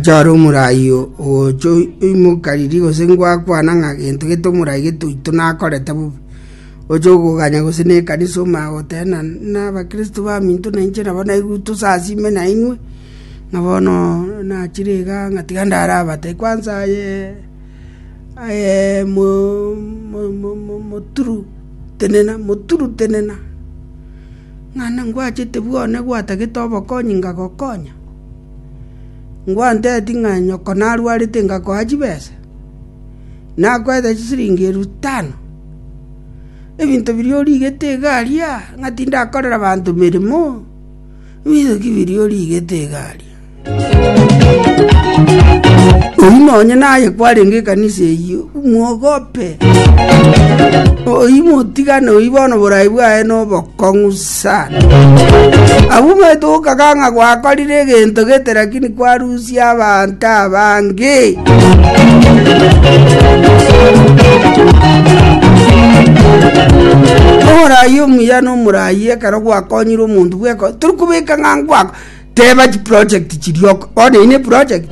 Ochore omorai ogocha oimoka riria gose ngwakwana ng'a gento gete omorai gete oito nakorete bobe, oche okoganya gose na ekanisa omanye goteba ng'a na abakristo baminto na inche nabo naigwe tosasime nainwe, ng'a bono nachire igaa ng'a tiga ndare abatebie kwanza aye aye mo- mo- mo- mo- moturu tenena moturu tenena, ng'a ngwachete bwane gwatagete obokonyi ngagokonya. Ngwanteti ng'a nyoko narwarete ngakoa chibesa, nakoete chisiringi elfu tano, ebinto biria origete iga aria ng'a tindakorera abanto meremo, ebinto ki biria origete iga aria? Oyio nonye naye kwarenge ekanisa eyio, mwogope, oyio motigane oyio bono borai bwaye nobokong'u sana. Abwo omanyete gokaga ng'a gwakorire egento gete lakini kwarusia abanto abange. Omorai omuya na omorai ekero gwakonyire omonto bweko tori kobeka ng'a ngwako teba chiproject chiria oko bono eyio ne project.